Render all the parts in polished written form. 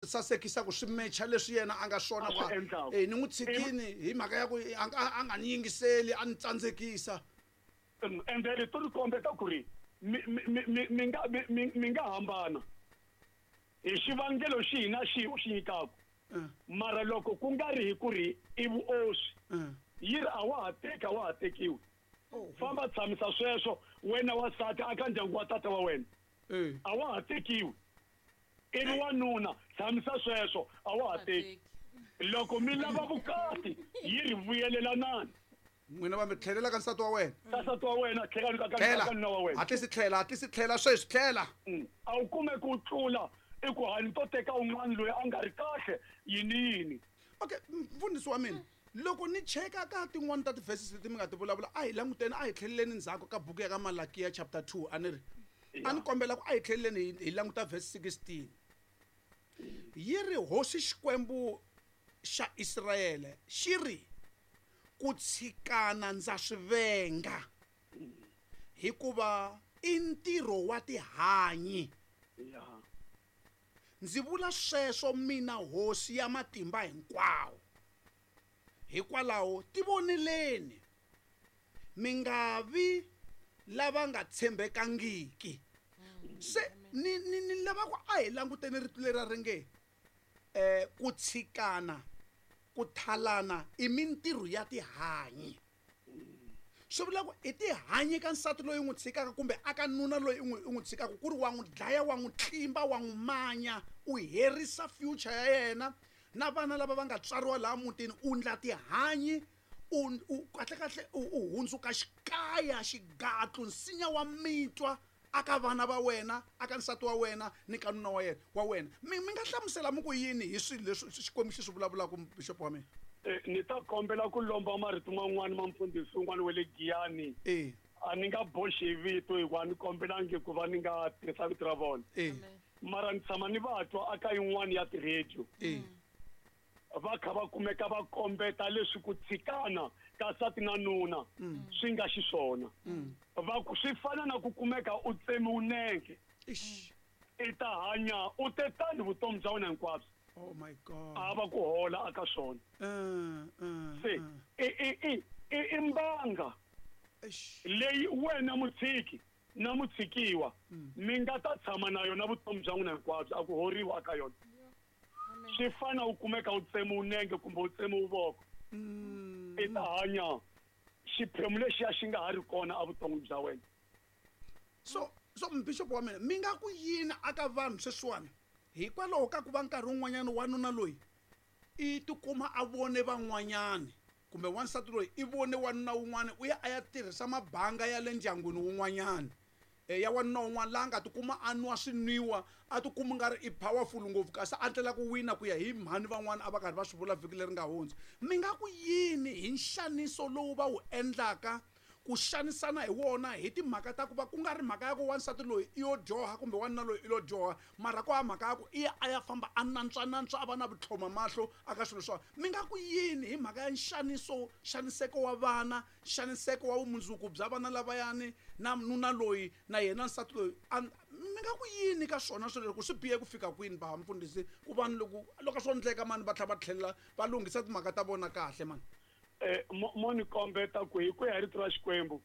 Sasekisa ku swi mecha leswi yena a nga swona A swi endlaka. Ni n'wi tshikini hi mhaka ya ku a nga ni yingiseli, a ni tsandzekisa. Ende rito ri kombeta ku ri mi nga mi nga hambana hi xivangelo xihi na xihi u xi nyikaka. Mara loko ku nga ri hi ku ri i vuoswi, yi ri a wa ha teki, a wa ha tekiwi. Famba tshamisa sweswo wena wansati aka ndyangu wa tata wa wena. A wa ha tekiwi. Ivi wanuna tshamisa sweswo, a wa ha teki. Loko mi lava vukati, yi ri vuyelelanani. N'wina va mi tlhelela ka nsati wa wena. Ka nsati wa wena, tlhela ka Tlhela. ka nuna wa wena. Hatlisi tlhela, hatlisi tlhela sweswi, tlhela. A wu kume ku tlula i ku hani to teka un'wana loyi a nga ri kahle yini yini. Okay, mfundhisi wa mina, loko ni cheka ka tin'wani ta ti-verses leti mi nga ti vulavula, a hi languteni, a hi tlheleleni ndzhaku ka buku ya ka Malakiya chapter 2, a ni ri. A ni kombela ku a hi tlheleleni hi languta verse 16. Yi ri Hosi Xikwembu xa Israyele xi ri, ku tshikana ndza swi venga, hikuva i ntirho wa tihanyi. Ndzi vula sweswo mina Hosi ya matimba hinkwawo. Hikwalaho tivoneleni, mi nga vi lava nga tshembekangiki. Se ni lava ku a hi languteni rito leri ri nge ku tshikana, ku thalana i mintirho ya tihanyi. Swi vula ku i tihanyi ka nsati loyi u n'wi tshikaka kumbe aka nuna loyi u n'wi tshikaka, ku ri wa n'wi dlaya, wa n'wi tlimba, wa n'wi manya, u herisa future ya yena na vana lava va nga tswariwa laha mutini, u ndla tihanyi, u kahle kahle u hundzuka xikaya, xigatlu, nsinya wa mitwa aka vana va wena, aka nsati wa wena ni ka nuna wa yena wa wena. Mi nga hlamusela mi ku yini hi swilo leswi Xikwembu xi swi vulavulaka, bishop wa mina? Ni ta kombela ku lomba marito man'wani ma mfundhisi un'wana wa le Giyani. A ni nga boxi hi vito hikuva a ni kombelangi ku va ni nga tirhisa vito ra vona. Mara ni tshama ni va twa aka yin'wani ya ti-radio. Va kha va kumeka va kombeta leswi ku tshikana ka nsati na nuna swi nga xiswona. Va ku swi fana na ku kumeka u tsemiwe nenge. I ta hanya u te tani vutomi bya wena hinkwabyo. Oh my God. A va ku hola aka swona. Se i mbanga leyi wena mutshiki na mutshikiwa mi nga ta tshama na yona vutomi bya n'wina hinkwabyo, a ku horiwa aka yona. Swi fana u kumeka u tsemiwe nenge kumbe u tsemiwe voko. I ta hanya xiphemu lexiya xi nga ha ri kona evuton'wini bya wena. So bishop wa mina, mi nga ku yini aka vanhu sweswiwani hikwalaho ka ku va nkarhi wun'wanyana wanuna loyi i tikuma a vone van'wanyani kumbe wansati loyi i vone wanuna wun'wana, u ya a ya tirhisa mabanga ya le ndyangwini wun'wanyana, ya wanuna wun'wana laha nga tikuma a nwa swinwiwa, a tikuma nga ri i powerful ngopfu kasi a ndlela ku wina ku ya hi mhani van'wana a va karhi va swi vula vhiki leri nga hundza. Mi nga ku yini hi nxaniso lowu va wu endlaka ku xanisana hi wona hi timhaka ta ku va ku nga ri mhaka ya ku wansati loyi i yo dyoha kumbe wanuna loyi i lo dyoha, mara ku ha mhaka ya ku i ya a ya famba a nantswanantswa a va na vutlhoma mahlo aka swilo swa. Mi nga ku yini hi mhaka ya nxaniso, nxaniseko wa vana, nxaniseko wa vumundzuku bya vana lavayani na nuna loyi na yena nsati loyi? Mi nga ku yini ka swona swilo leswi, ku swi bihe ku fika kwini ba mfundhisi, ku vanhu loko swo endleka mani va tlhela va tlhelela va lunghisa timhaka ta vona kahle mani? Mo ni kombeta ku hi ku ya hi rito ra Xikwembu,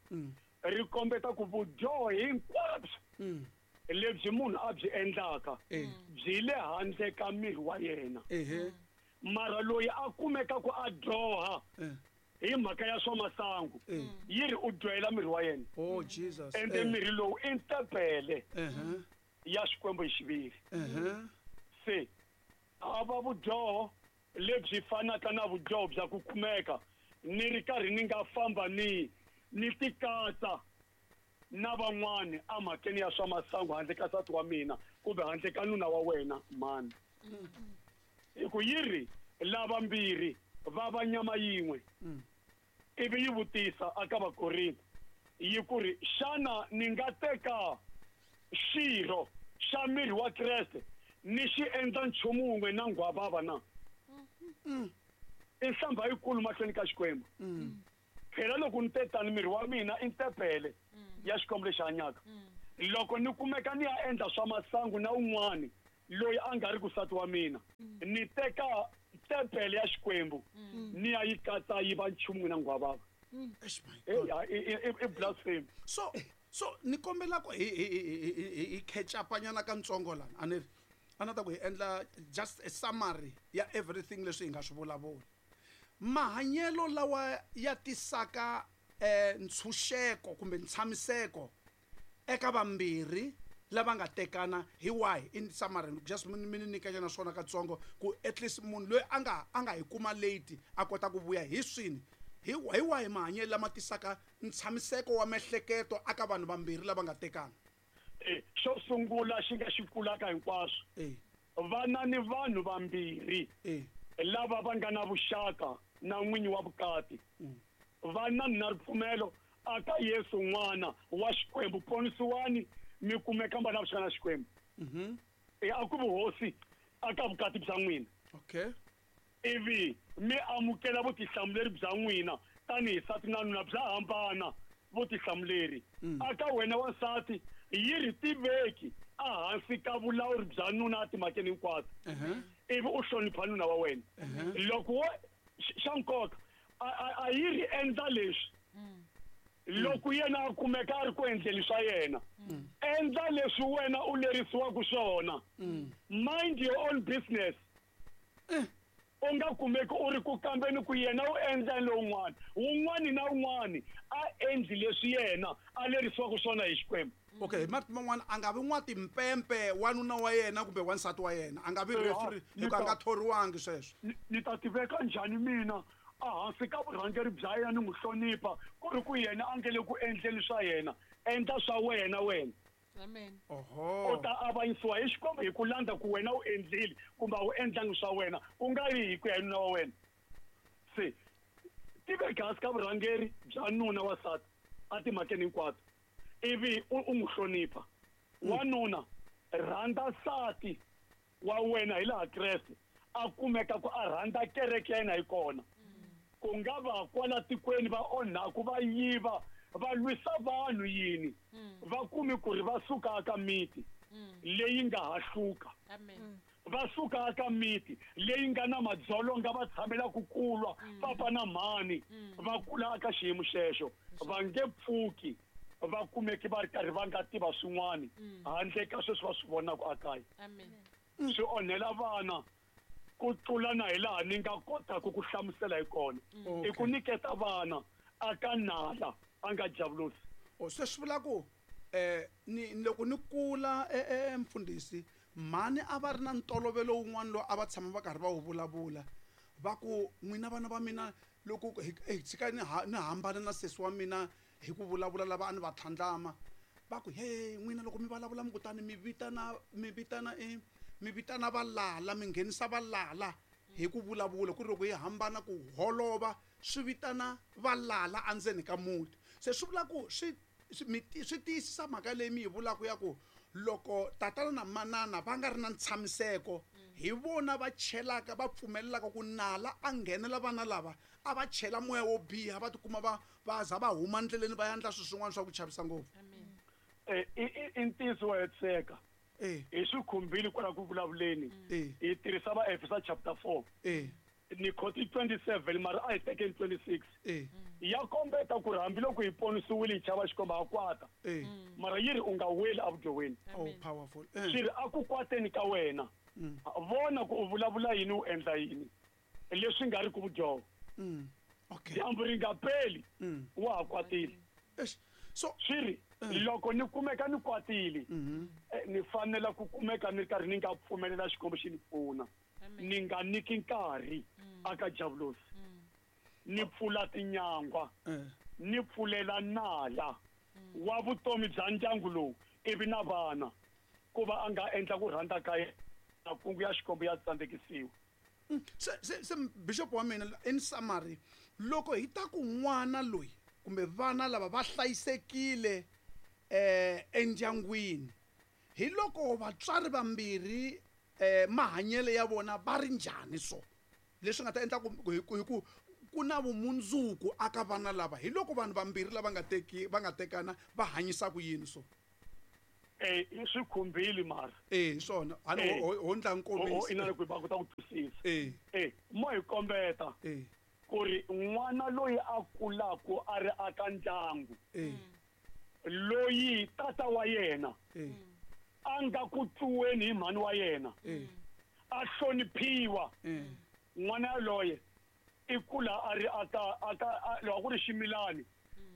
ri kombeta ku vudyoho hinkwabyo lebyi munhu a byi endlaka byi le handle ka miri wa yena. Mara loyi a kumeka ku a dyoha hi mhaka ya swa masangu, yi ri u dyohela miri wa yena. Oh, Jesus. Ende miri lowu i ntempele ya Xikwembu hi xiviri. Se a va vudyoho lebyi fanaka na vudyoho bya ku kumeka ni ri karhi ni nga famba ni tikatsa na van'wani emhakeni ya swa masangu handle ka nsati wa mina kumbe handle ka nuna wa wena mhani. Hi ku yi ri lava mbirhi va va nyama yin'we. Ivi yi vutisa aka Vakorinto yi ku ri, xana ni nga teka xirho xa miri wa Kreste ni xi endla nchumu wun'we na nghwavava na? I nhlambha yikulu mahlweni ka Xikwembu. Phela loko ni te tani, miri wa mina i ntempele ya Xikwembu lexi hanyaka. Loko ni kumeka ni ya endla swa masangu na un'wani, loyi a nga ri ku nsati wa mina, ni teka tempele ya Xikwembu ni ya yi katsa yi va nchumu n'wina nghwavava. Eish, my God. I blasphemy. So ni kombela ku hi catch up nyana katsongo lana. A ni ri a na ta ku hi endla just a summary ya everything leswi hi nga swi vulavula. Mahanyelo lawa ya tisaka ntshunxeko kumbe ntshamiseko eka vambirhi lava nga tekana hi wahi? In summary, just mi ni nyika nyana swona katsongo ku at least munhu loyi a nga hi kuma late a kota ku vuya hi swini. Hi wahi mahanyelo lama tisaka ntshamiseko wa miehleketo aka vanhu vambirhi lava nga tekana? Xo sungula xi nga xi kulaka hinkwaswo, vana ni vanhu vambirhi lava va nga na vuxaka na n'winyi wa vukati, va na ripfumelo aka Yesu n'wana wa Xikwembu, ponisiwani mi kumeka va na vuxaka na Xikwembu. A ku vuhosi aka vukati bya n'wina. Ivi mi amukela vutihlamuleri bya n'wina tanihi nsati na nuna, bya hambana vutihlamuleri. Aka wena wansati, yi ri tiveki ehansi ka vulawuri bya nuna etimhakeni hinkwato, ivi u hlonipha nuna wa wena. Loko wo xa nkoka a yi ri endla leswi, loko yena a kumeka a ri ku endleni swa yena, endla leswi wena u lerisiwaka swona. Mind your own business. U nga kumeki u ri ku kambeni ku yena u endla lowun'wana. Wun'wani na wun'wani a endli leswi yena a lerisiwaka swona hi Xikwembu. Okay, hi marito man'wana, a nga vi n'watimpempe wanuna wa yena kumbe wansati wa yena, a nga vi referee, hikuva a nga thoriwangi sweswo. Ni ta tiveka njhani mina ehansi ka vurhangeri bya yena, ni n'wi hlonipha, ku ri ku yena a nge le ku endleni swa yena? Endla swa wena wena. Amen. Oho. U ta avanyisiwa hi Xikwembu hi ku landza ku wena u endlile kumbe a wu endlangi swa wena, ku nga ri hi ku ya hi nuna wa wena. Se tiveka hansi ka vurhangeri bya nuna wa nsati etimhakeni hinkwato, ivi u n'wi hlonipha. Wanuna, rhandza nsati wa wena hi laha Kreste a kumeka ku a rhandza kereke ya yena hi kona. Ku nga va kwala tikweni va onhaku, va yiva, va lwisa vanhu, yini, va kumi ku ri va suka aka miti leyi nga hahluka. Amen. Va suka aka miti leyi nga na madzolonga, va tshamela ku kulwa papa na mhani, va kula aka xiyimo xexo, va nge pfuki va kumeki va ri karhi va nga tiva swin'wani handle ka sweswi va swi vonaka akaya. Amen. Swi onhela vana ku tlula na hi laha ni nga kotaka ku hlamusela hi kona. I ku nyiketa vana aka nala a nga javulosi. O se swi vula ku ni loko ni kula, mfundhisi, mhani a va ri na ntolovelo wun'wana lowu a va tshama va karhi va wu vulavula, va ku, "N'wina vana va mina, loko hi tshika ni hambana na sesi wa mina hi ku vulavula lava a ni va tlhandlama, va ku, he n'wina loko mi vulavula mi kutani mi vitana mi vitana valala, mi nghenisa valala hi ku vulavula, ku ri loko hi hambana ku holova swi vitana valala endzeni ka muti." Se swi vula ku swi tiyisisa mhaka leyi mi yi vulaka ya ku loko tatana na manana va nga ri na ntshamiseko, hi vona va chelaka, va pfumelelaka ku nala a nghenela vana lava, a va chela moya wo biha, va tikuma va za va huma ndleleni, va endla swilo swin'wana swa ku chavisa ngopfu. Amen. I ntiyiso wa hetiseka. Hi swi khumbile kwala ku vulavuleni. Hi tirhisa va Efesa chapter 4. Ni khoti 27, mara a hi tekeni 26. Ya kombeta ku ri hambiloko hi ponisiwile, hi chava Xikwembu, ha kwata. Mara yi ri u nga weli evudyohweni. Oh, powerful. Swi ri a ku kwateni ka wena, vona ku u vulavula yini, u endla yini leswi nga ri ku vudyoho. Dyambu ri nga peli wa ha kwatile. Eish. So swi ri loko ni kumeka ni kwatile, ni fanela ku kumeka ni ri karhi ni nga pfumelela Xikwembu xi ni pfuna. Amen. Ni nga nyiki nkarhi aka javulosi, ni pfula tinyangwa, ni pfulela nala wa vutomi bya ndyangu lowu ivi na vana ku va a nga endla ku rhandza ka yena, makungu ya Xikwembu ya tsandzekisiwa. Se bishop wa mina, in summary, loko hi ta ku n'wana loyi kumbe vana lava va hlayisekile endyangwini, hi loko vatswari vambirhi mahanyelo ya vona va ri njhani, so leswi nga ta endla ku hi ku na vumundzuku aka vana lava, hi loko vanhu vambirhi lava nga teki va nga tekana va hanyisa ku yini so? I swi khumbile mara. Hi swona. A ni ho ndla nkomiso. Ina ku va kota ku twisisa. Mo hi kombeta. Ku ri n'wana loyi a kulaku a ri aka ndyangu. Loyi tata wa yena. A nga ku tluweni hi mhani wa yena. A hloniphiwa. N'wana yaloye i kula a ri aka aka loko ku ri ximilani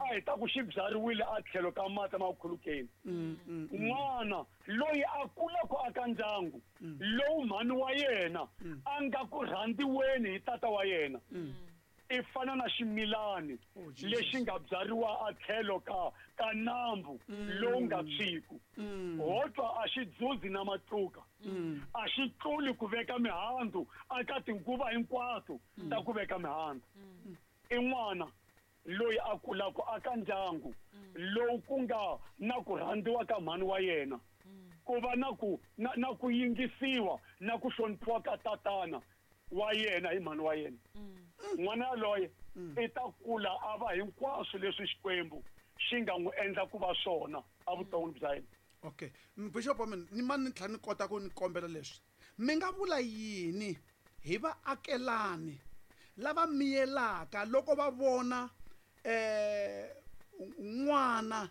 a hi ta ku xi byariwile a tlhelo ka mati ma khulukeni. N'wana loyi a kulaku aka ndyangu lowu mhani wa yena a nga ku rhandziweni hi tata wa yena i fana na ximilani lexi nga byariwa a tlhelo ka nambu lowu nga tshwiku. Ho twa a xi dzuzi na matluka. A xi tluli ku veka mihandzu aka tinguva hinkwato ta ku veka mihandzu. I n'wana loyi a kulaku aka ndyangu lowu ku nga na ku rhandziwa ka mhani wa yena, ku va na ku na ku yingisiwa na ku hloniphiwa ka tatana wa yena hi mhani wa yena. N'wana yaloye i ta kula a va hinkwaswo leswi Xikwembu xi nga n'wi endla ku va swona evuton'wini bya yena. Okay. Bishop wa mina, ni mani ni tlhela ni kota ku ni kombela leswi. Mi nga vula yini hi vaakelani lava miyelaka loko va vona n'wana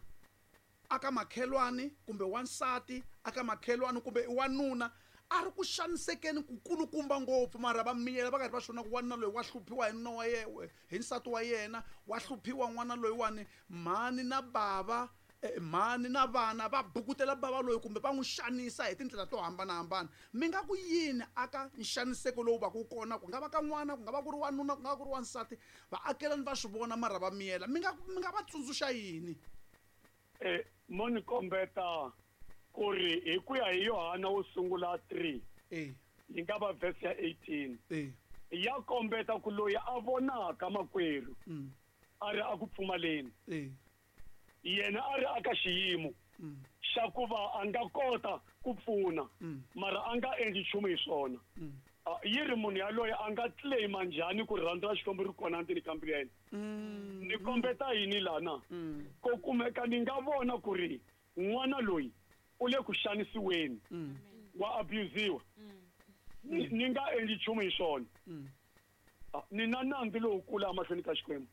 aka makhelwani kumbe wansati aka makhelwani kumbe wanuna a ri ku xanisekeni ku kulukumba ngopfu, mara va miyela va karhi va swona ku wanuna loyi wa hluphiwa hi nuna wa yena, hi nsati wa yena, wa hluphiwa n'wana loyiwani, mhani na bava, mhani na vana va bukutela bava loyi kumbe va n'wi xanisa hi tindlela to hambanahambana. Mi nga ku yini aka nxaniseko lowu va ku kona, ku nga va ka n'wana, ku nga va ku ri wanuna, ku nga va ku ri wansati, vaakelani va swi vona mara va miyela, mi nga va tsundzuxa yini? Mo ni kombeta ku ri hi ku ya hi Yohana wo sungula 3 yi nga va verse ya 18 ya kombeta ku loyi a vonaka makwerhu a ri a ku pfumaleni, yena a ri aka xiyimo xa ku va a nga kota ku pfuna mara a nga endli nchumu hi swona. Yi ri munhu yaloye a nga claima njhani ku rirhandzu ra Xikwembu ri kona ndzeni ka mbilu ya yena? Ni kombeta yini lana? Ko kumeka ni nga vona ku ri n'wana loyi u le ku xanisiweni, wa abusiwa, ni nga endli nchumu hi swona, ni na nandzu lowukulu emahlweni ka Xikwembu.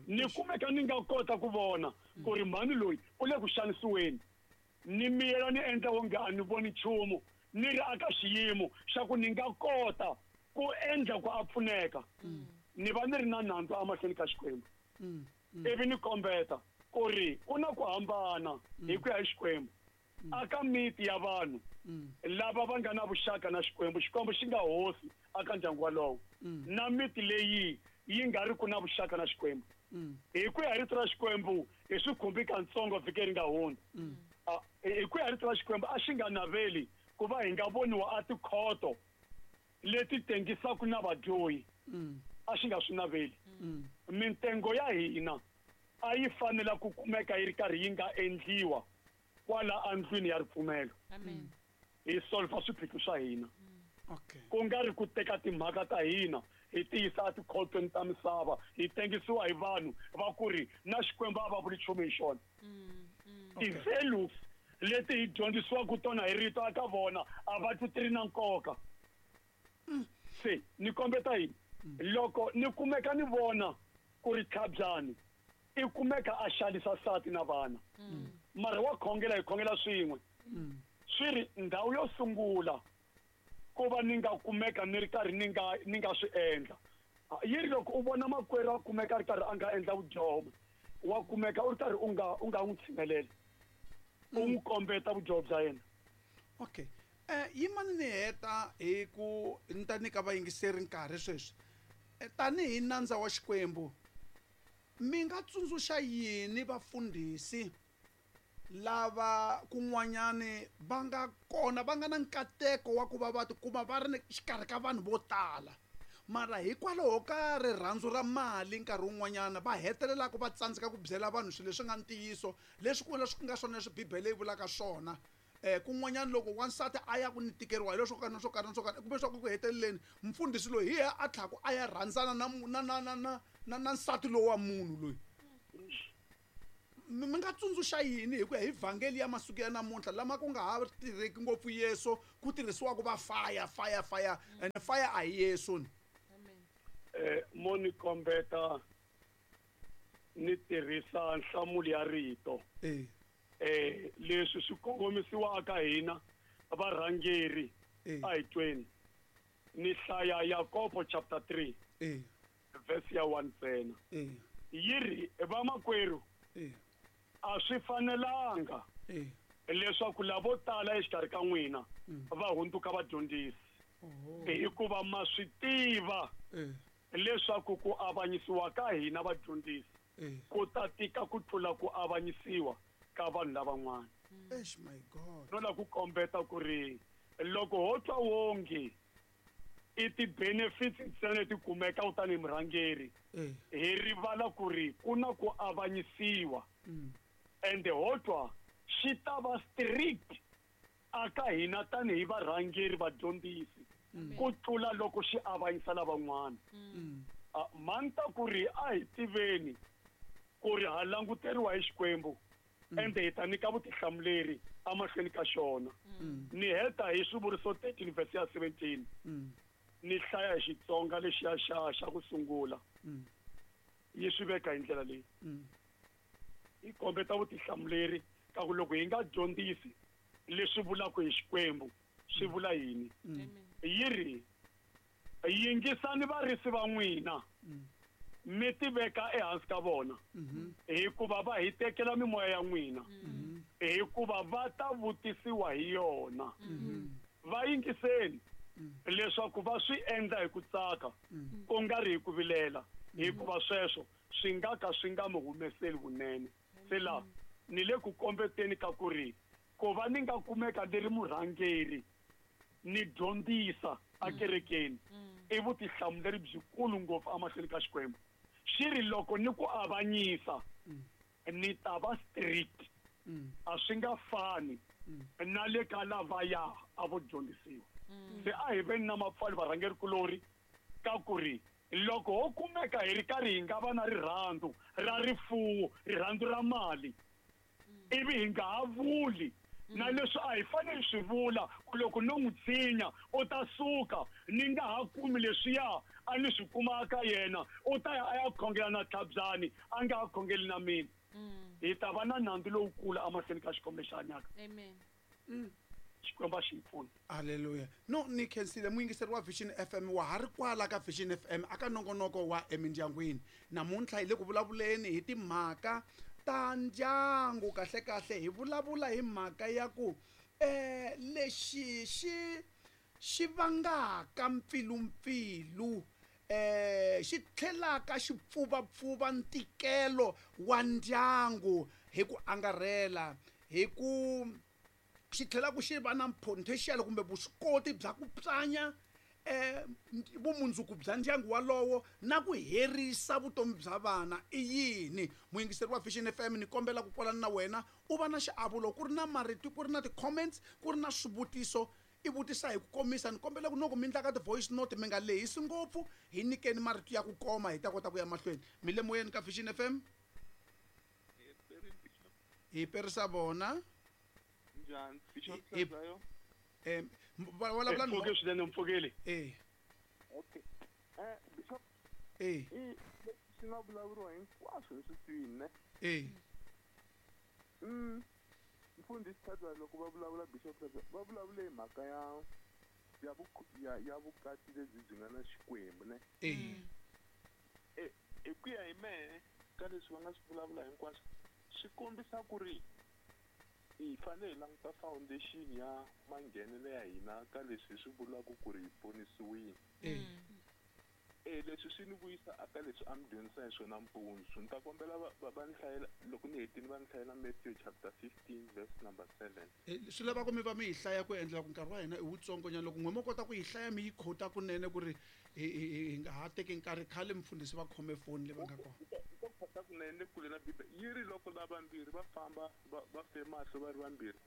Ni kumeka ni nga kota ku vona ku ri mhani loyi u le ku xanisiweni, ni miyela ni endla wonge a ni voni nchumu, ni ri aka xiyimo xa ku ni nga kota ku endla ku a pfuneka, ni va ni ri na nandzu emahlweni ka Xikwembu. Ivi ni kombeta ku ri ku na ku hambana hi ku ya hi Xikwembu aka miti ya vanhu lava va nga na vuxaka na Xikwembu, Xikwembu xi nga hosi aka ndyangu walowo, na miti leyi yi nga ri ku na vuxaka na Xikwembu. Hi ku ya hi rito ra Xikwembu hi swi khumbi katsongo vhiki ri nga hundza. Hi ku ya hi rito ra Xikwembu a xi nga naveli ku va hi nga voniwa a tikhoto leti tengisaka na vadyohi, a xi nga swi naveli. Mintengo ya hina a yi fanela ku kumeka yi ri karhi yi nga endliwa kwala andlwini ya ripfumelo. Hi solva swiphiqo swa hina. Ku nga ri ku teka timhaka ta hina hi tiyisa etikhotweni ta misava, hi tengisiwa hi vanhu va ku ri na Xikwembu a va vuli nchumu hi xona. Ti-values leti hi dyondzisiwaka tona hi rito aka vona a va twi ti ri na nkoka. Se ni kombeta yini? Loko ni kumeka ni vona ku ri tlhabyani i kumeka a xanisa nsati na vana, mara wa khongela, hi khongela swin'we, swi ri ndhawu yo sungula ku va ni nga kumeka ni ri karhi ni nga swi endla. Yi ri loko u vona makwerhu a kumeka a ri karhi a nga endla vudyoho, wa kumeka u ri karhi u nga n'wi tshinelela, u n'wi kombeta vudyoho bya yena. Okay. Yimani ni heta hi ku ni ta nyika vayingiseri nkarhi sweswi. Tanihi nandza wa Xikwembu, mi nga tsundzuxa yini vafundhisi lava kun'wanyani va nga kona va nga na nkateko wa ku va va tikuma va ri xikarhi ka vanhu vo tala, mara hikwalaho ka rirhandzu ra mali nkarhi wun'wanyana va hetelelaka va tsandzeka ku byela vanhu swilo leswi nga ntiyiso, leswi ku leswi nga swona leswi Bibele yi vulaka swona? Kun'wanyana loko wansati a ya ku ni tikeriwa hi leswo karhi na swo karhi na swo karhi, kumbe swa ku heteleleni mfundhisi loyi hi yena a tlhaku a ya rhandzana na nsati lowu wa munhu loyi. Mi nga tsundzuxa yini hi ku ya hi vhangeli ya masiku ya namuntlha lama ku nga ha tirheki ngopfu Yesu, ku tirhisiwaka va fire, fire, fire, and fire a hi Yesu ni? Mo ni kombeta ni tirhisa nhlamulo ya rito. Leswi swi kongomisiwaka hina varhangeri a hi tweni. Ni hlaya Yakobo chapter 3 verse ya 1 ntsena. Yi ri, vamakwerhu, a swi fanelanga leswaku lavo tala exikarhi ka n'wina va hundzuka vadyondzisi, hikuva ma swi tiva leswaku ku avanyisiwa ka hina vadyondzisi ku ta tika ku tlula ku avanyisiwa ka vanhu lavan'wana. Eish, my God. No la ku kombeta ku ri loko ho twa wonge i ti-benefits ntsena leti kumekaka tanihi murhangeri, hi rivala ku ri ku na ku avanyisiwa, ende ho twa xi ta va strict aka hina tanihi varhangeri vadyondzisi ku tlula loko xi avanyisa lavan'wana. Manta ku ri a hi tiveni ku ri ha languteriwa hi Xikwembu, ende hi ta nyika vutihlamuleri emahlweni ka xona. Ni heta hi Swivuriso 13 verse ya 17. Ni hlaya hi Xitsonga lexiya xa ku sungula. Yi swi veka hi ndlela leyi. Yi kombeta vutihlamuleri ka ku loko hi nga dyondzisi leswi vulaka hi Xikwembu swi vula yini. Yi ri, yingisani varisi va n'wina, mi tiveka ehansi ka vona, hikuva va hi tekela mimoya ya n'wina, hikuva va ta vutisiwa hi yona. Va yingiseni leswaku va swi endla hi ku tsaka, ku nga ri hi ku vilela, hikuva sweswo swi nga ka swi nga mi humeseli vunene. Se la ni le ku kombeteni ka ku ri ku va ni nga kumeka ni ri murhangeri ni dyondzisa akerekeni i vutihlamuleri byikulu ngopfu emahlweni ka Xikwembu. Xi ri loko ni ku avanyisa ni ta va strict, a swi nga fani na le ka lavaya a vo dyondzisiwa. Se a hi veni na mapfalo varhangeri kulori ka ku ri loko ho kumeka hi ri karhi hi nga va na rirhandzu ra rifuwo, rirhandzu ra mali, ivi hi nga ha vuli na leswi a hi fanele swi vula ku loko no n'wi tshinya u ta suka ni nga ha kumi leswiya a ni swi kuma ka yena, u ta ya a ya khongela na Tlhabyani a nga ha khongeli na mina. Hi ta va na nandzu lowukulu emahlweni ka Xikwembu lexi hanyaka. Amen. Xikwembu a xi hi pfuni. Hallelujah. No, ni khensile muyingiseri wa Vision FM wa ha ri kwala ka Vision FM aka nongonoko wa emindyangwini. Namuntlha hi le ku vulavuleni hi timhaka ta ndyangu. Kahle kahle hi vulavula hi mhaka ya ku lexi xi vangaka mpfilumpfilu, xi tlhelaka xi pfuvapfuva ntikelo wa ndyangu hi ku angarhela, hi ku xi tlhela ku xi va na potential kumbe vuswikoti bya ku pyanya vumundzuku bya ndyangu walowo na ku herisa vutomi bya vana. I yini? Muyingiseri wa Vision FM, ni kombela ku kwalana na wena u va na xiavulo, ku ri na marito, ku ri na ti-comments, ku ri na swivutiso, i vutisa hi ku komisa. Ni kombela ku loko mi endla ka ti-voice note mi nga lehisi ngopfu, hi nyikeni marito ya ku koma hi ta kota ku ya mahlweni. Mi le moyeni ka Vision FM? Hi perisa vona. Njhani? Bishop Hlazayo? Vulavula ni Mpfhuke swinene, mpfhukile. Okay. Bishop, swi nga vulavuriwa hinkwaswo leswi twini, ne? Mfundhisi Hlazayo loko va vulavula Bishop Hlazayo, va vulavule hi mhaka ya vukati lebyi byi nga na Xikwembu, ne? Hi ku ya hi mehe ka leswi va nga swi vulavula hinkwaswo, swi kombisa ku ri hi fanele hi languta foundation ya manghenelo ya hina ka leswi hi swi vulaka ku ri hi ponisiwile. Leswi swi ni vuyisa aka leswi a mi dyondzisa hi swona mpundzu. Ni ta kombela va ni hlayela, loko ni hetile va ni hlayela Matthew chapter 15 verse number 7. Swi lava ku mi va mi yi hlaya ku endlela ku nkarhi wa hina i wutsongonyana. Loko n'we mo kota ku yi hlaya mi yi khota kunene ku ri hi nga ha teki nkarhi, khale mfundhisi va khome foni leyi va nga kona. Ni ta khota kunene le kule na Bibele. Yi ri loko lavambirhi va famba va fe mahlo va ri vambirhi,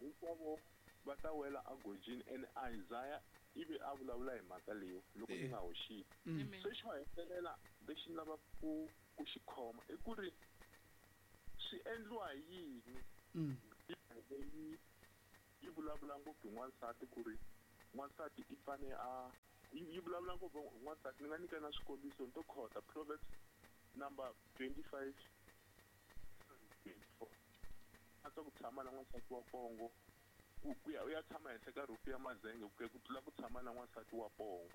hinkwavo va ta wela agojini. And Isaiah ivi a vulavula hi mhaka leyi loko ni nga hoxile. Se xo hetelela lexi ni lavaka ku xi khoma i ku ri Swi endliwa hi yini? Bibele yi vulavula ngopfu hi n'wansati ku ri n'wansati i fane a yi vulavula ngopfu hi n'wansati. Ni nga nyika na swikombiso ni to khota Proverbs number 25 24. A ku tshama na n'wansati wa pongo ku ya u ya tshama henhla ka rhufu ya mazenge ku tlula ku tshama na n'wansati wa pongo.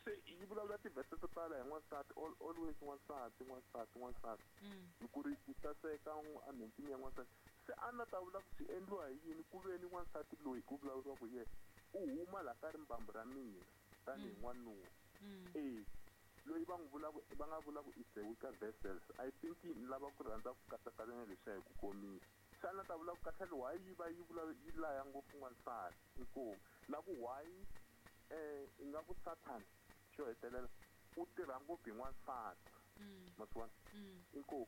Se yi vulavula tivhese to tala hi n'wansati, always n'wansati n'wansati n'wansati. Ku ri ku saseka enhompfini ya n'wansati. Se a na ta vula ku swi endliwa hi yini ku ve ni n'wansati loyi ku vulavuriwaka hi yena u huma laha ka rimbambu ra mina tanihi n'wanuna. Loyi va n'wi vulaka va nga vula ku is the weaker vessels. I think ni lava ku rhandza ku katsakanya leswiya hi ku komisa. Se a na ta vula ku kahlekahle why yi va yi vula yi laya ngopfu n'wansati inkomu na ku why ingaku Satan xo hetelela u tirha ngopfu hi n'wansati. Ma swi vona? Inkomu.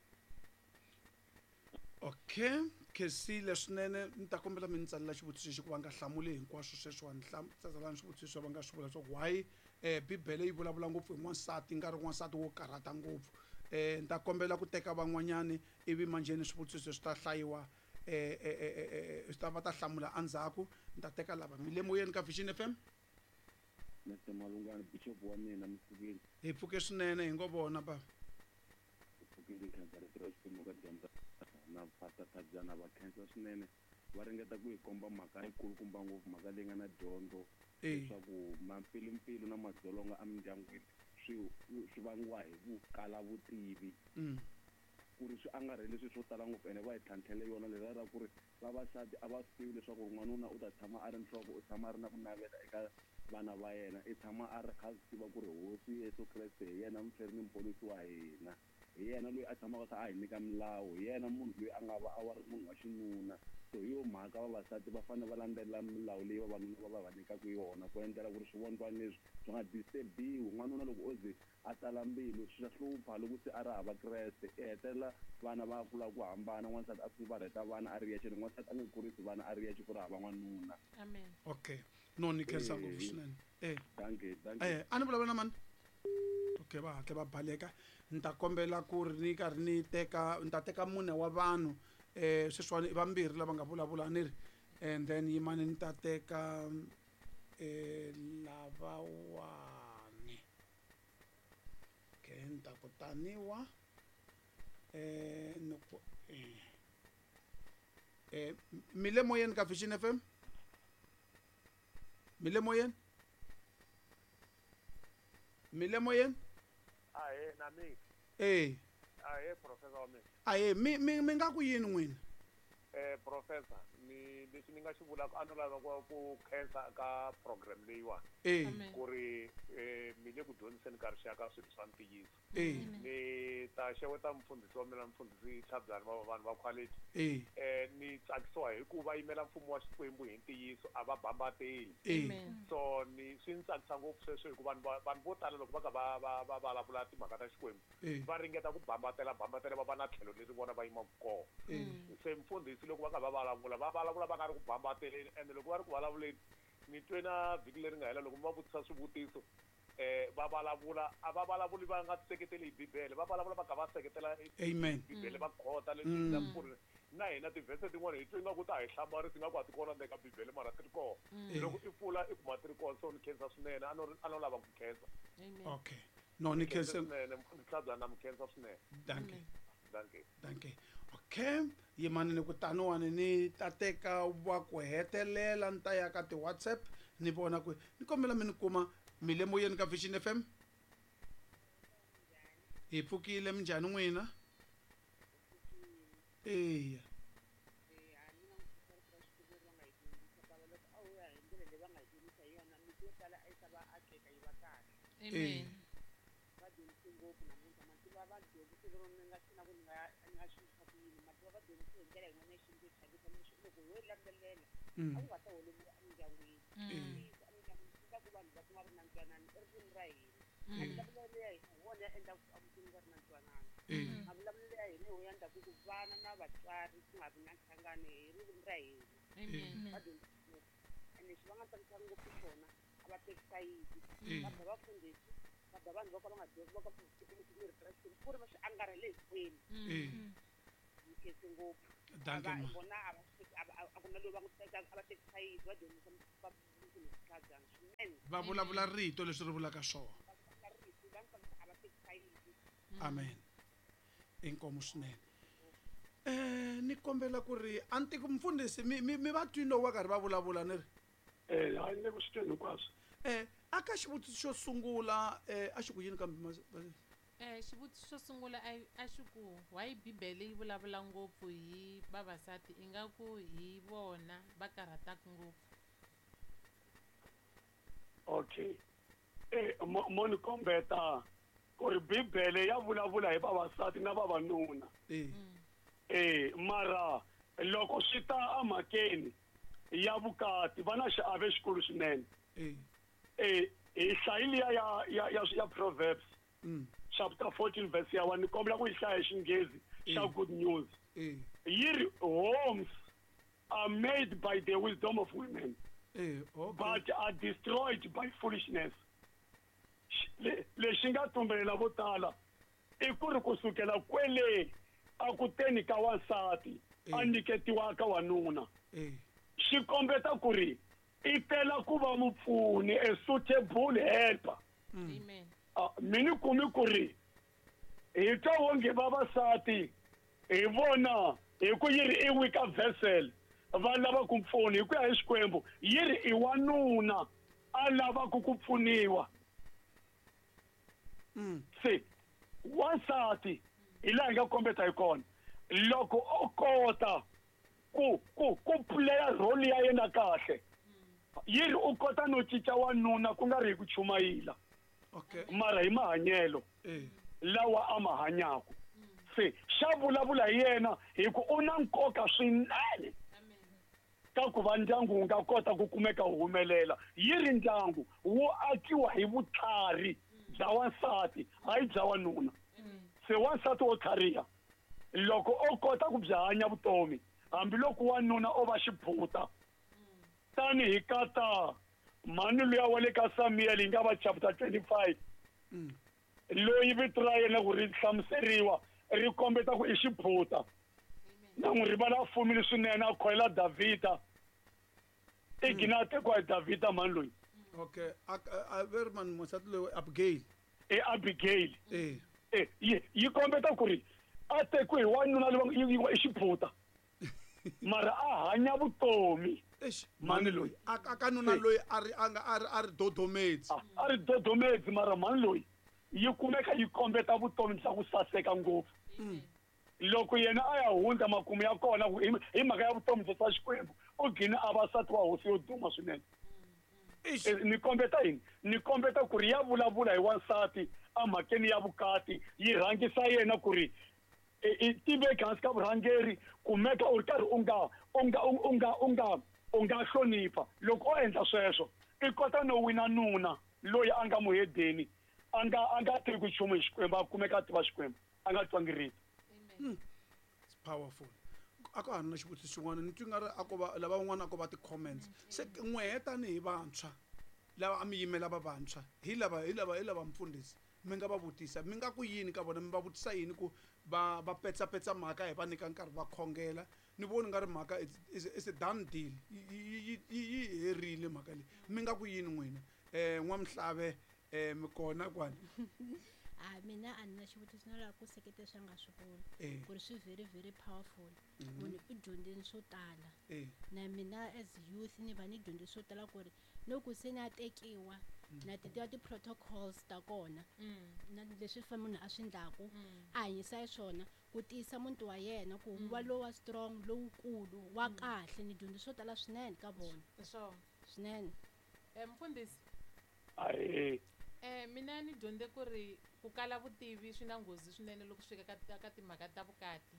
Okay, khensile swinene. Ni ta kombela mi ni tsalela xivutiso lexi ku va nga hlamuli hinkwaswo sweswiwani. Tsalani swivutiso va nga swi vula leswaku why Bibele yi vulavula ngopfu hi n'wansati nga ri n'wansati wo karhata ngopfu. Ni ta kombela ku teka van'wanyani ivi manjheni swivutiso swi ta hlayiwa swi ta va ta hlamula endzhaku. Ni ta teka lava mi le moyeni ka Vision FM. Mr Malungani, Bishop wa mina, mi pfukile? Hi pfuke swinene, hi ngo vona bava. Hi pfukile, khensa rito ra Xikwembu ka dyondza na Pastor Thabyana, va khensa swinene. Va ringeta ku hi komba mhaka yikulukumba ngopfu, mhaka leyi nga na dyondzo leswaku mampfilumpfilu na madzolonga emindyangwini swi vangiwa hi ku kala vutivi. Ku ri swi angarhele swilo swo tala ngopfu, ene va hi tlhantlhele yona leriya ra ku ri vavasati a va swi tivi leswaku n'wanuna u ta tshama a ri nhloko, u tshama a ri na ku navela eka vana va yena, i tshama a ri kha swi tiva ku ri Hosi Yesu Kreste hi yena muferi ni muponisi wa hina, hi yena loyi a tshamaka kha a hi nyika milawu, hi yena munhu loyi a nga va a wa ri munhu wa xinuna. So hi yo mhaka vavasati va fanele va landzelela milawu leyi vavanuna va va va nyikaka yona ku endlela ku ri swivondlwana leswi swi nga disturbiwi. N'wanuna loko o ze a tala mbilu swi ta hlupha loko se a ri hava Kreste, i hetelela vana va kula ku hambana, n'wansati a fumbarheta vana a ri yexe, n'wansati a nge kurisi vana a ri yexe ku ri hava n'wanuna. Amen. Okay, no ni khensa ngopfu swinene. Dankie, dankie. A ni vulavula na mani? Okay, va hatla va baleka. Ni ta kombela ku ri ni karhi ni teka, ni ta teka mune wa vanhu sweswiwani i vambirhi lava nga vulavula ni ri, and then yimani ni ta teka lavawani. Okay, ni ta ku taniwa ni ku mi le moyeni ka Vision FM? Mi le moyeni? Mi le moyeni? Ahee, na mina. Ahee, professor wa mina. Ahee, mi nga ku yini n'wina? Professor, ni lexi ni nga xi vulaka a no lava ku khensa ka program leyiwani. Ku ri mi le ku dyondziseni ka rixaka swilo swa ntiyiso. Ni ta xeweta mufundhisi wa mina, mufundhisi Tlhabyani, va vanhu va quality. Ni tsakisiwa hi ku va yimela mfumo wa Xikwembu hi ntiyiso, a va bambateli. So ni swi ni tsakisa ngopfu sweswo hikuva vanhu vo tala loko va ka va vulavula timhaka ta Xikwembu va ringeta ku bambatela bambatela va va na tlhelo leri vona va yimaka kona. Se mufundhisi loko va ka va vulavula, va vulavula va nga ri ku bambateleni, ende loko va ri ku vulavuleni ni twe na vhiki leri nga hela loko mi va vutisa swivutiso va vulavula, a va vulavuli va nga seketeli hi Bibele, va vulavula va kha va seketela Amen. Bibele va khota leswi mm. ku ri na hina tivhese tin'wana hi twe ingaku ta hi hlamarisa ingaku a ti kona ndzeni ka Bibele mara ti ri kona. Loko i pfula i kuma ti ri kona, so ni khensa swinene, a no lava ku khensa. Okay. No ni khensa swinene, mfundhisi Tlhabyana na mi khensa swinene. Dankie. Dankie. Dankie. Okay, yimani ni ku taniwani ni ta teka wa ku hetelela ni ta ya ka ti-WhatsApp ni vona ku ni kombela mi ni kuma mi le moyeni ka Vision FM. Hi pfukile, minjhani n'wina? Eya. Amen. Va dyondzise ngopfu namuntlha, mativa va dyondzise lero ni nga swi na ku ni nga ni nga swi yisa ku yini, mativa va dyondzise hi ndlela yin'wana ya xintu yo chavisa leswi loko ho landzelela a ku nga ta holoviwa emindyangwini. Ntiyiso emindyangwini swi endla ku vanhu va kuma ri na ntwanano i ririmi ra hina. Mavulavulelo ya hina hi wona ya endlaka ku emutini ku va ri na ntwanano. Mavulavulelo ya hina hi wona ya endlaka ku vana na vatswari ku nga vi na nhlangano hi ririmi ra hina. Va dyondzise ngopfu ene lexi va nga tsakisa ngopfu xona a va teki sayiti, va ba vafundhisi. Va ba vanhu vo ka va nga dyondzi, vo ka va nga swi tivi rito ra Xikwembu, ku ri va swi angarhele hinkwenu. Ni khense ngopfu. Dankie, A va- ma. Vona a va swi teki, a ku na loyi va n'wi tekaka, a va teki sayiti, va dyondzisa va Tlhajana swinene. Va vulavula rito leswi ri vulaka swona. Va vulavula rito, va n'wi a va teki sayiti. Amen. Inkomu swinene. Ni kombela ku ri a ni tiki mfundhisi mi va twini loko va karhi va vulavula ni ri? Hayi, ni le ku swi tweni hinkwaswo. Aka xivutiso xo sungula, a xi ku yini kambe Xivutiso xo sungula a xi ku why Bibele yi vulavula ngopfu hi vavasati ingaku hi vona va karhataka ngopfu? Okay. Mo ni kombeta ku ri Bibele ya vulavula hi vavasati na vavanuna. Mara loko swi ta emhakeni ya vukati va na xiave xikulu swinene. Hi hlayile ya Proverbs. Chapter 14 verse ya 1, ni kombela ku yi hlaya hi Xinghezi xa Good News. Yi ri homes are made by the wisdom of women. Okay. But are destroyed by foolishness. Lexi nga tumbelela vo tala i ku ri kusukela kwele a ku teni ka wansati a nyiketiwa ka wanuna. Xi kombeta ku ri i tela ku va mupfuni, a suitable helper. Amen. Mi ni kumi ku ri hi twa wonge vavasati hi vona hi ku yi ri i weaker vessel va lava ku pfuna hi ku ya hi Xikwembu, yi ri i wanuna a lavaka ku pfuniwa. Se wansati hi laha hi nga kombeta hi kona, loko o kota ku playa role ya yena kahle, yi ri u kota no cinca wanuna ku nga ri hi ku chumayila. Mara hi mahanyelo lawa a ma hanyaka. Se xa vulavula hi yena hi ku u na nkoka swinene ka ku va ndyangu wu nga kota ku kumeka wu humelela. Yi ri ndyangu wu akiwa hi vutlhari bya wansati, hayi bya wanuna. Se wansati wo tlhariha loko o kota ku byi hanya vutomi, hambiloko wanuna o va xiphuta, tanihi kata mhani luya wa le ka Samuel yi nga va chapter 25, loyi vito ra yena ku ri hlamuseriwa ri kombeta ku i xiphuta. Na n'wi rivala a fumile swinene, a khoyela Davhida. I gina a tekiwa hi Davhida mhani loyi. Okay, a ve ri mani wansati loyi, Abigail. I Abigail. Yi kombeta ku ri a tekiwe hi wanuna loyi i xiphuta. Mara a hanya vutomi. Eish, mhani loyi. A ka nuna loyi a ri, a nga, a ri, a ri dodomedzi. A ri dodomedzi, mara mhani loyi yi kumeka yi kombeta vutomi bya ku saseka ngopfu. Loko yena a ya hundza makumu ya kona ku hi mhaka ya vutomi bya swa Xikwembu, u gcine a va nsati wa hosi yo duma swinene. Eish. Ni kombeta yini? Ni kombeta ku ri ya vulavula hi wansati emhakeni ya vukati, yi rhangisa yena ku ri i tiveki hansi ka vurhangeri, kumeka u ri karhi u nga hlonipha. Loko o endla sweswo, i kota no wina nuna loyi a nga muhedeni, a nga tivi ku nchumu hi Xikwembu, a kumeka a tiva Xikwembu, a nga twangi rito. It's powerful. A ka ha ri na xivutiso xin'wana, ni twi nga ri a ko va lava van'wana a ko va ti-comments. Se n'wehe tanihi vantshwa lava a mi yimela va vantshwa, hi lava mfundhisi, mi nga va vutisa, mi nga ku yini ka vona, mi va vutisa yini ku va petsapetsa mhaka hi va nyika nkarhi va khongela? Ni voni nga ri mhaka it's a done deal. Yi herile mhaka leyi. Mi nga ku yini n'wina? N'wamhlave, mi kona kwani? Mina a ni na xivutiso, na lava ku seketela swi nga swi vula. Ku ri swi very, very powerful. Munhu u dyondzile swo tala. Na mina as youth ni va ni dyondze swo tala ku ri loko se ni a tekiwa, na ti tiva ti-protocols ta kona. Na leswi fa munhu a swi endlaku, a hanyisa hi swona, ku tiyisa muti wa yena, ku wu va lowa strong, lowukulu, wa kahle. Ni dyondze swo tala swinene ka vona. Swona. Swinene. Mfundhisi. Ahee. Mina ni dyondze ku ri ku kala vutivi swi na nghozi swinene loko swi fika ka timhaka ta vukati.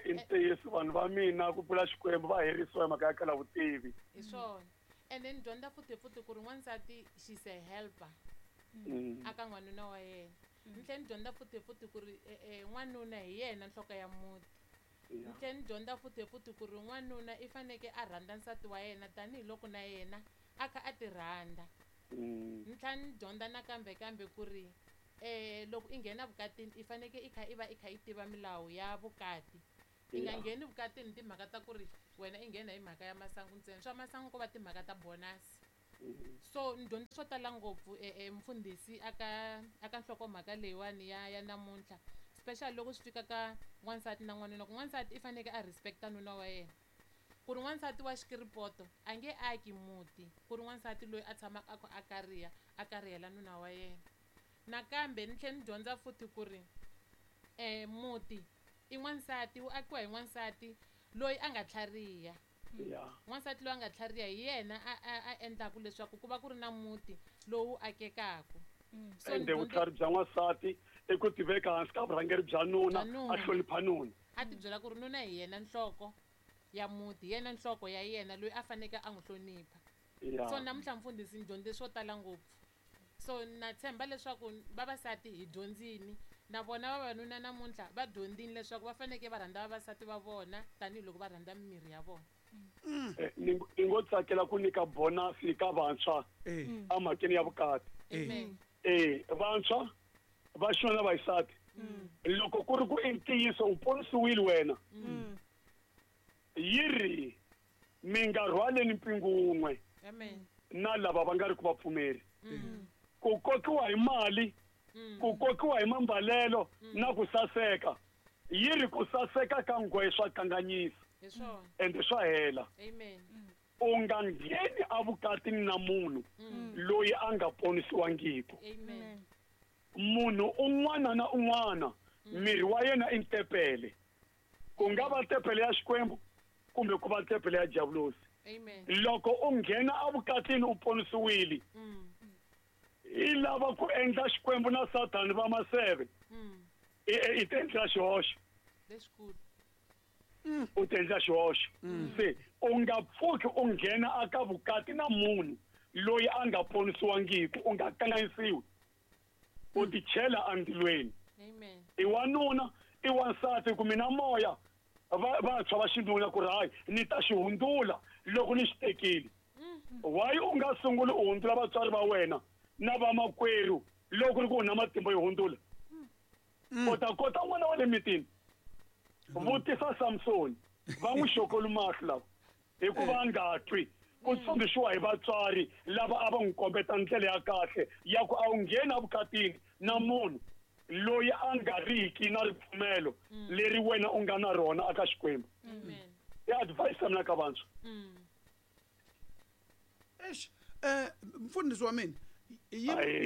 I ntiyiso, vanhu va mina ku pfula Xikwembu va herisiwa hi mhaka ya kala vutivi. Hi swona. And then dyondza futhi futhi ku ri n'wansati she's a helper. Aka n'wanuna wa yena. Ni tlhela ni dyondza futhi futhi ku ri n'wanuna hi yena nhloko ya muti. Ni tlhela ni dyondza futhi futhi ku ri n'wanuna i faneke a rhandza nsati wa yena tanihiloko na yena a kha a ti rhandza. Ni tlhela ni dyondza nakambe kambe ku ri loko i nghena vukatini i fanekele i kha i va i kha i tiva milawu ya vukati. I nga ngheni vukatini timhaka ta ku ri wena i nghena hi mhaka ya masangu ntsena. Swa masangu ko va timhaka ta bonus. So ni dyondze swo tala ngopfu mfundhisi aka nhlokomhaka leyiwani ya namuntlha, especially loko swi fika ka n'wansati na n'wanuna, ku n'wansati i fanekele a respecta nuna wa yena. Ku ri n'wansati wa xikiripoto a nge aki muti, ku ri n'wansati loyi a tshamaka a kha a kariha, a karihela nuna wa yena. Nakambe ni tlhela ni dyondza futhi ku ri muti i n'wansati, wu akiwa hi n'wansati loyi a nga tlhariha. N'wansati loyi a nga tlhariha hi yena a endlaku leswaku ku va ku ri na muti lowu akekaku. So ende vutlhari bya n'wansati i ku tiveka hansi ka vurhangeri bya nuna, a hlonipha nuna. A ti byela ku ri nuna hi yena nhloko ya muti, hi yena nhloko ya yena loyi a faneleke a n'wi hlonipha. So namuntlha mfundhisi ni dyondze swo tala ngopfu. So na tshemba leswaku vavasati hi dyondzini, na vona vavanuna namuntlha va dyondzini leswaku va fanekele va rhandza vavasati va vona tanihiloko va rhandza mimiri ya vona. Ni ngo tsakela ku nyika bonus ka vantshwa emhakeni ya vukati. Vantshwa va xinuna va xisati, loko ku ri ku i ntiyiso u ponisiwile wena, yi ri mi nga rhwaleni mpingu wun'we na lava va nga ri ku vapfumeri. Ku kokiwa hi mali, ku kokiwa hi mambalelo na ku saseka, yi ri ku saseka ka nghohe swa kanganyisa ende swa hela. U nga ngheni evukatini na munhu loyi a nga ponisiwangiki. Munhu un'wana na un'wana miri wa yena i ntepele, ku nga va tempele ya Xikwembu kumbe ku va tempele ya diabulosi. Loko u nghena evukatini u ponisiwile, i lava ku endla Xikwembu na Sathani va maseve, i ti endla xihoxo. U ti endla xihoxo. Se u nga pfuki u nghena aka vukati na munhu loyi a nga ponisiwangiki, u nga kanganyisiwi, u ti chela endzilweni. I wanuna, i wansati, ku mina moya vantshwa va xinuna ku ri hayi ni ta xi hundzula loko ni xi tekile. Why u nga sunguli u hundzula vatswari va wena na vamakwerhu loko ri ku u na matimba yo hundzula? U ta kota n'wana wa le mitini. Vutisa Samsoni, va n'wi xokoli mahlo lava hikuva a nga twi ku tsundzuxiwa hi vatswari lava a va n'wi kombeta ndlela ya kahle ya ku a wu ngheni evukatini na munhu loyi a nga riki na ripfumelo leri wena u nga na rona aka Xikwembu. I advice ya mina ka vantshwa. Eish, mfundhisi wa mina,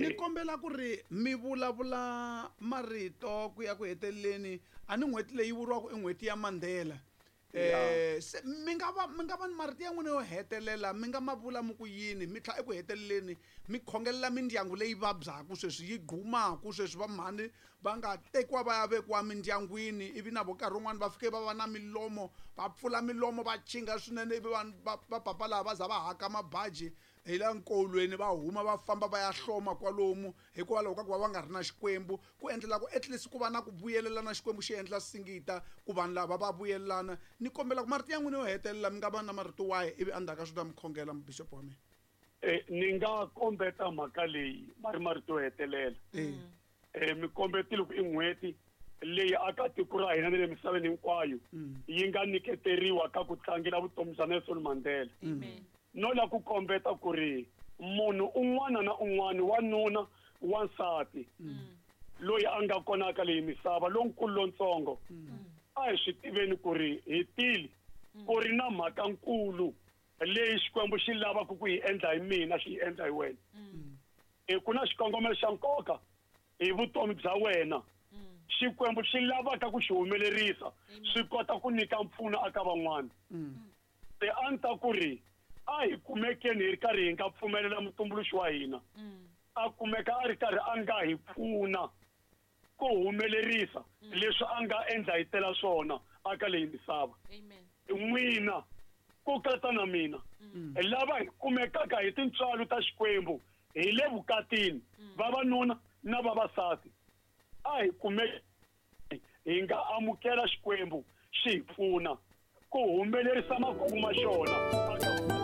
ni kombela ku ri mi vulavula marito ku ya ku heteleleni. A ni n'hweti leyi vuriwaka i n'hweti ya Mandela. Se mi nga va ni marito ya n'wina yo hetelela, mi nga ma vula mi ku yini, mi tlhela eku heteleleni mi khongelela mindyangu leyi vabyaka sweswi, yi gumaka sweswi, va mhani va nga tekiwa va ya vekiwa mindyangwini, ivi na vo nkarhi wun'wani va fike va va na milomo, va pfula milomo va chinga swinene, ivi vanhu va papa laha va za va haka mabaji hi la nkolweni, va huma va famba va ya hloma kwalomu hikwalaho ka ku va va nga ri na Xikwembu, ku endlela ku at least ku va na ku vuyelelana, Xikwembu xi endla singita ku vanhu lava va vuyelelana. Ni kombela ku marito ya n'wina yo hetelela mi nga va na marito wahi, ivi endzhaku ka swi ta mi khongela mubixopo wa mina. Ni nga kombeta mhaka leyi ma ri marito yo hetelela. Mi kombetile ku i n'hweti leyi aka tiko ra hina ni le misaveni hinkwayo yi nga nyiketeriwa ka ku tlangela vutomi bya Nelson Mandela. No la ku kombeta ku ri munhu un'wana na un'wana, wanuna, wansati, loyi a nga kona ka leyi misava, lonkulu lontsongo, a hi swi tiveni ku ri hi tile ku ri na mhaka nkulu leyi Xikwembu xi lavaka ku yi endla hi mina, xi yi endla hi wena. Ku na xikongomelo xa nkoka hi vutomi bya wena, Xikwembu xi lavaka ku xi humelerisa, swi kota ku nyika mpfuno aka van'wana. Se a ni ta ku ri a hi kumekeni hi ri karhi hi nga pfumelela mutumbuluxi wa hina a kumeka a ri karhi a nga hi pfuna ku humelerisa leswi a nga endla hi tela swona aka leyi misava. N'wina ku katsa na mina, lava hi kumekaka hi tintswalo ta Xikwembu hi le vukatini, vavanuna na vavasati, a hi kumeki hi nga amukela Xikwembu xi hi pfuna ku humelerisa makungu ma xona.